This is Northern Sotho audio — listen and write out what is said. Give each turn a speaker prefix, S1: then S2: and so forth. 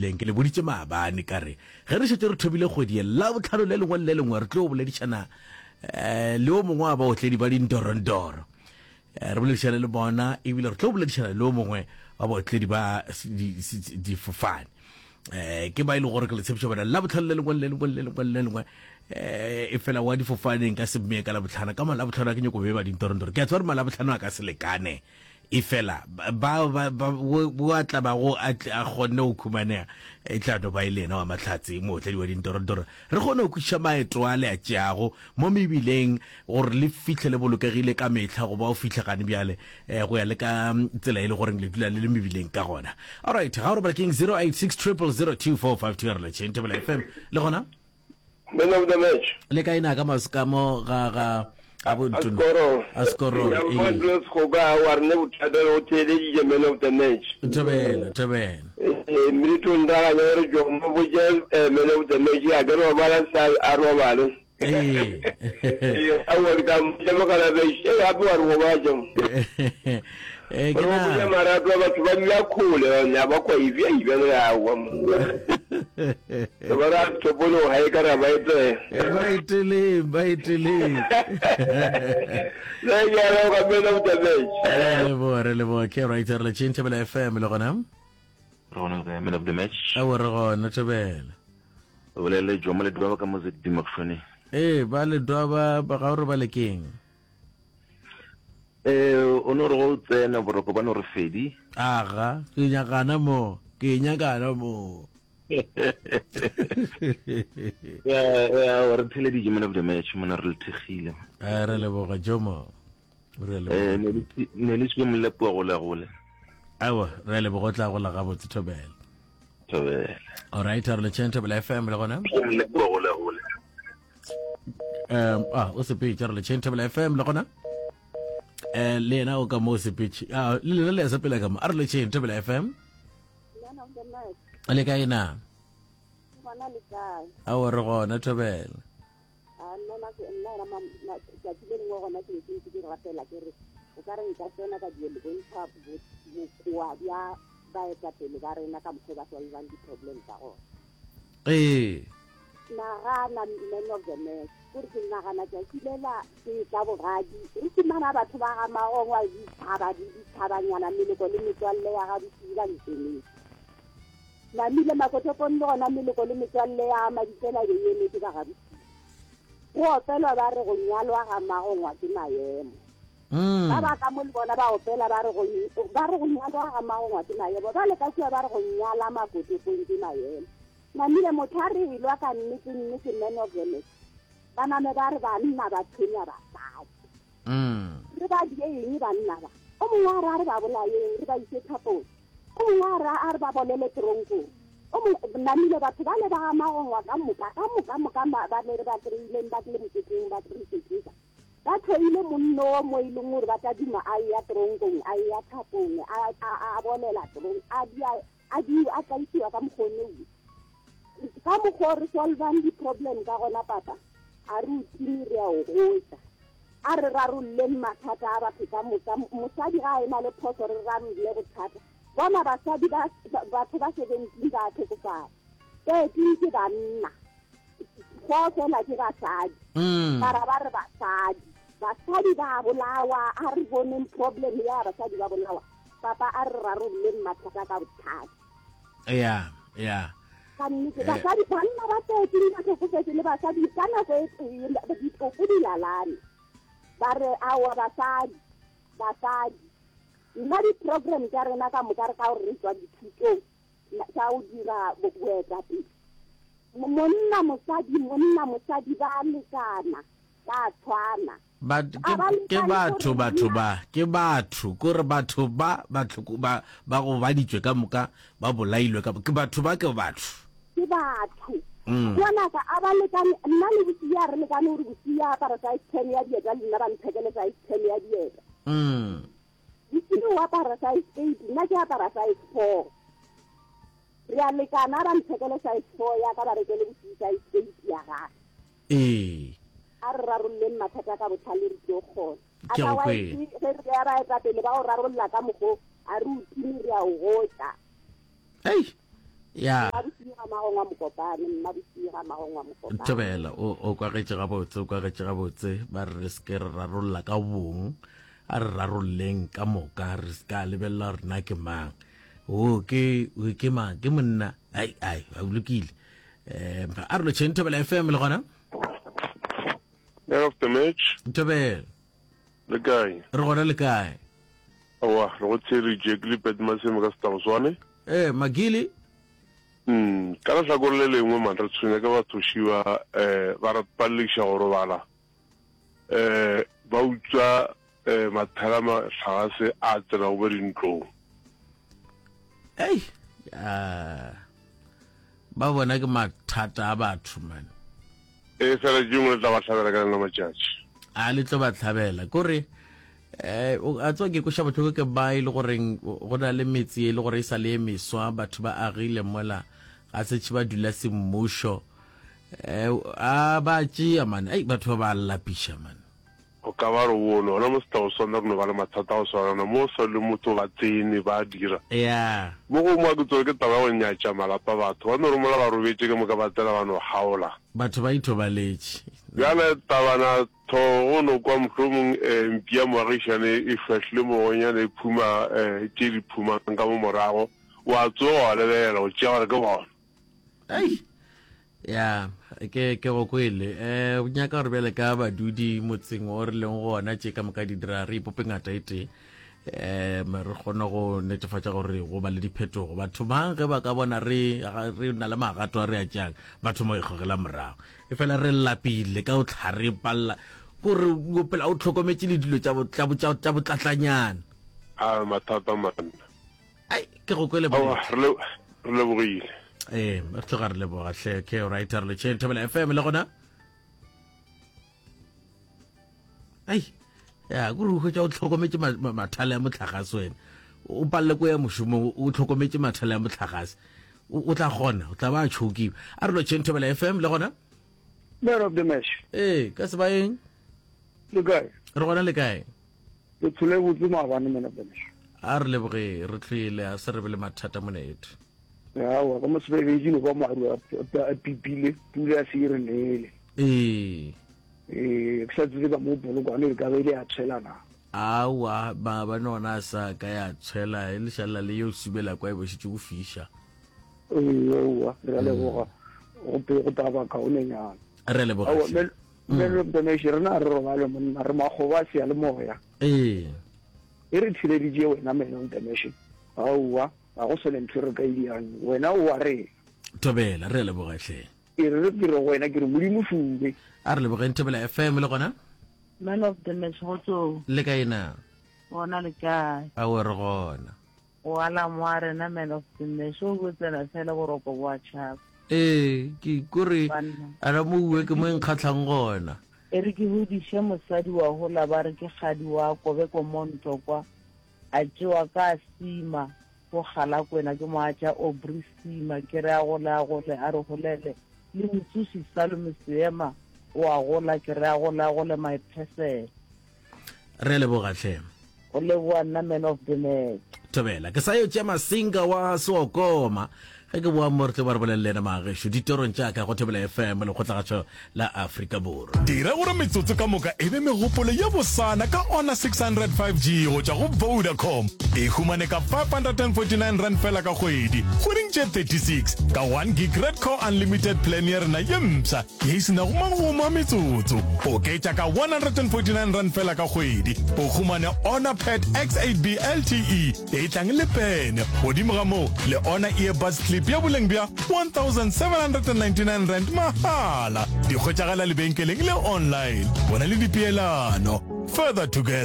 S1: mebileng. Ke le boditše maabane ka re ge re šetše re thomile kgwedi ye, Labohlano le lengwe le le lengwe re tlo boledišana eh, le o mongwe wa baotledi ba dindorondoro. Eh, re boledišane le bona ebile re tlo boledišana le o mongwe wa baotledi ba difofane. Eh, ke ba e le gore ke le tshepiša bona Labohlano le lengwe le lengwe le lengwe le lengwe eh e fela wa difofaneng ka semmee ka Labohlano ka Malabohlano a ke nyoko beba dindorondoro. Ke a tseba gore Malabohlano a ka se lekane Efela ba, ba, ba, wo a tla bago a tle a kgonne go khumanega, e tla no ba e le yena wa mahlatse, mootledi wa dintorantoro. Re kgone go kwešiša maeto a le a tšeago mo mebileng, gore le fihle le bolokegile ka mehla, goba o fihle gane bjale, eh, go ya le ka tsela e le goreng le dula le le mebileng ka gona. Alright, ga o robala keng 086 000 2452 re letšeng Thobela FM. Le gona?
S2: Man of the match.
S1: Le kae na ka masekamo ga ga a bo Ntoni?
S2: A
S1: Skororo.
S2: A Skororo. Ee. Go ka wa re ne bothata o theeleditše man of the match.
S1: Thobela, thobela.
S2: Eh, mme to ndaganya gore Jomo botše eh, man of the match a ke robala sa a robale.
S1: Ee.
S2: Ee, aowa ke tla mmotša mogala be e gape wa re gobatša.
S1: Eh, ke
S2: Gore o botša
S1: na.
S2: marato a batho ba dula kgole ba ba kwa ibja ibja le aowa mo. Ba ra topolo ga e ka ra ba e tsaya.
S1: Eh, ba eteleng, ba eteleng.
S2: Le ke a leboga man of the match.
S1: Re leboga, re leboga. Ke right, re le tšheng Thobela FM le gona.
S3: Re gona le kae man of the match?
S1: Aowa re gona Thobela.
S3: O bolele Jomo le Dwaba ka mo ZB Mokgone.
S1: Ee, ba le Dwaba ba ga o re ba le keng?
S3: Eh, o no re go tsena boroko ba no re fedi.
S1: Aga, ke nyakana mo, ke nyakana mo.
S3: Ya, ya, re theleditše man of the match mona re le thekgile.
S1: Eh, re leboga Jomo. Re leboga.
S3: Eh, ne le ne le se molepo go le gole.
S1: Awa, re leboga o tla gola gabotse Thobela.
S3: Thobela.
S1: All right, re le tšheng Thobela FM le gona.
S3: Molepo go le gole.
S1: Um, ah, o sepetše re le tšheng Thobela FM le gona. Eh, le yena o ka mo o sepetše. Ah, le lena le ya sepela ka mo. A re le tšheng Thobela FM. Le kae na?
S4: Gona le kae?
S1: Aowa re gona Thobela.
S4: A nna na nna yona ma tšatši le lengwe gona ke be ke ntse ke rapela ke re o ka re nka tsena ka dio le bontšha bokoa bja baetapele ba rena ka mokgwa ba solvang di-problem tsa gona.
S1: Ee.
S4: Nagana man of the match kore ke nagana tšatši lela ke tla bogadi re fumana batho ba ga magongwa ditšhaba ditšhabanyana meloko le metswalle ya ga bosiu ba ntemetse. Namile Makotopong le gona meloko le metswalle ya Mabitsela be e emetše ba gaBosiu. Go opelwa ba re go nyalwa ga Magongwa ke maemo. Ba ba ka mo le bona ba opela ba re go ba re go nyalwa ga Magongwa ke maemo. Ba le ka kua ba re go nyala Makotopong ke maemo. Namile motho a re elwa ka nnete nnete man of the match. Ba name ba re banna ba tshwenya basadi. Re ba die eng banna ba? O mongwe a re a re ba bolayeng re ba ise thapong. O mongwe a re, a re ba bolele teronkong. O mongwe, namile batho bale ba ga Magongwa ka moka, ka moka, moka ba, ba le re ba kry-ileng ba tlile moketeng ba re keteka. Ba hloile monno wo mo e leng gore ba tla duma a eya teronkong, a eya thapong, a, a, a bolela terong, a dia, a di, a tlaisiwa ka mokgwa o ne. Ka mokgwa o re solvang di-problem ka gona, papa, a re o time re a o gotša. A re rarolleng mathata a batho ka moka. Mosadi ga a e na le phoso, re rarolle bothata. Bona basadi ba, batho ba 17 ba a hlokofala. 13 ke banna. Four fela ke basadi.
S1: Mm.
S4: Mara ba re basadi. Basadi ba bolawa, a re boneng problem ya basadi ba bolawa. Papa a re rarolleng mathata ka bothata.
S1: Ya, ya.
S4: Ka nnete, basadi, banna ba 13 ba hlokofetše le basadi ka nako e tee, ditopo di lalane. Ba re aowa basadi, basadi. Nna di-program tša rena ka moka re ka gore re tšwa dithutong tša go dira boetapele. Monna, mosadi, monna, mosadi ba lekana, ba tshwana.
S1: Ba, ke, ke batho, batho ba, ke batho, kore batho ba, ba, ba, ba gobaditšwe ka moka, ba bolailwe ka, ke batho ba ke batho.
S4: Ke batho. Mm. Ngwanaka, a ba lekane, nna le Bosia re lekane gore Bosia apara size 10 ya dieta le nna ba nthekele size 10 ya dieta.
S1: Mm.
S4: Bosia o apara size 8, nna ke apara size 4. Re a lekana, a ba nthekele size 4 ya ka ba rekele Bosia size 8 ya gagwe.
S1: Ee.
S4: A re rarolleng mathata ka bohlale re tlo kgona.
S1: Ke go kwele.
S4: Otherwise ge re ya baetapele ba go rarolla ka mokgo a re o time re a o gotša.
S1: Ei. Ya.
S4: Magongwa Mokopane, Mmabosie ga Magongwa Mokopane.
S1: Thobela, o, o kwagetše gabotse, o kwagetše gabotse. Ba re re se ke re rarolla ka bong, a re rarolleng ka moka, re se ka lebelela gore na ke mang. O ke, o ke mang? Ke monna. Ai, ai, a lokile. Eh, a re lotšheng Thobela FM le gona?
S5: Man of the match.
S1: Thobela.
S5: Le kae?
S1: Re gona le kae?
S5: Aowa, re go theeleditše ke Lipet Maseme ka Setagoswane.
S1: Eh, Magili.
S5: Mm, ka lehlakore le lengwe man re tshwenya ke bathoši ba eh ba re palediša go robala. Eh ba utswa eh mathela mahlagase a tsenago mo dintlong.
S1: Ei, ah. Ba bona ke mathata a batho man.
S5: Ee, fela tšengwe le tla ba hlabela ka lena matšatši.
S1: A le tlo ba hlabela. Kore eh a tswa ke koša bohloko ke ba e le goreng go na le metse e le gore e sa le e meswa batho ba agile mola ga setšhe ba dula semmušo eh a ba tšea man ei batho ba ba lapiša man
S5: O ka ba re bone gona mo Setlaoswana re no ba le mathata a go swana le mo sa le motho ba tsene ba dira.
S1: Yeah.
S5: Mo gongwe a ke tsore ke taba ya go nyatša malapa a batho. Ba no re mola ba robetše ke moka ba tsena ba no kgaola.
S1: Batho ba ithobaletše.
S5: Bjale tabana tho go no kwa mohlomong eh, mpi ya moagišane e šwahlile mogonyana e phuma eh, tše di phumang ka mo morago. Wa tsoga wa lebelela o tšea gore ke bona.
S1: Ei. Ya, ke ke go kwele. Eh, o nyaka gore bjale ka badudi motseng o re leng gona tše ka moka di dira re ipope ngata e tee. Eh, re kgone go netefatša gore go ba le diphetogo. Batho bang ge ba ka bona re re na le magato a re a tšeang, ba thoma go ikgogela morago. E fela re lapile ka o tlha re palla gore o phela o tlhokometše le dilo tša tša botlatlanyana.
S5: A mathata man.
S1: Ai, ke go kwele
S5: Aowa, re le re lebogile.
S1: Ee, re tloga re leboga hle. Ke right re le tšheng Thobela FM le gona. Ai, ya kore o hwetša o tlhokometše mathale a motlagase wena. O palele ko ya mošomong o tlhokometše mathale a motlagase. O tla kgona, o tla ba a tšhokiwa. A re lo tšheng Thobela FM le gona.
S2: Man of the match.
S1: Ee, ka sebaeng.
S2: Le kae?
S1: Re gona le kae?
S2: Le tlhole botse maabane man of the match.
S1: A re leboge re tlhoile a se re be le mathata monete.
S2: Aowa ka mo sebebedi no ba maru a pipile pula ya se e re nele.
S1: Ee.
S2: Ee, ke sa tsebe ka mo polokwane e ka be ile ya tshwela na.
S1: Aowa maabane ona a sa ka ya tshwela e lešalela le yo subela kwa e bo šetše go fiša.
S2: Ee, aowa re a leboga go pe go taba kaonenyana.
S1: Re a leboga.
S2: Aowa man of the match rena re robale monna re makgoba a seyalemoya.
S1: Ee.
S2: E re theleditše wena man of the match. Aowa ga go sone ntho e re ka e dirang wena o wa rena.
S1: Thobela re a leboga hle.
S2: Ke re ke re go wena ke re Modimo fume.
S1: A re lebogeng Thobela FM le gona.
S6: Man of the match go
S1: Le kae na?
S6: Gona le kae?
S1: Aowa re gona.
S6: O alarm wa rena man of the match o bo tsena fela boroko bo a tšhaba.
S1: Ee, ke kore ana mo uwe ke mo e nkgatlhang gona.
S6: E re ke hodiše mosadi wa hola ba re ke kgadi wa kobe ko monto kwa a tšewa ka sima go Galakwena ke mo a tša Aubrey sima ke re a gole a gole a re golele le motsoši Salome Seema o a gola ke re a gole a gole my person.
S1: Re a leboga hle.
S6: Go leboga nna man of the match.
S1: Thobela. Ke sa yo tšea masinga wa Seokoma. Ge ke boa mo re tlo ba re bolele le yena magešo ditorong tša ka go Thobela FM lekgotlagašo la Afrika Borwa.
S7: Dira gore metsotso ka moka e be megopolo ye bosana ka Honor 600 5G go tšwa go Vodacom. E humane ka R549 fela ka kgwedi, kgweding tše 36, ka 1 gig Red Core Unlimited plan ya rena ye mpsha ye e se nago magomo a metsotso. Oketša ka R149 fela ka kgwedi, o humane Honor Pad X8B LTE e tlang le pene. Godimo ga moo, le Honor Earbuds Clip ya boleng bja R1799 mahala. Di hwetšagala lebenkeleng le online. Bona le dipeelano. Further together.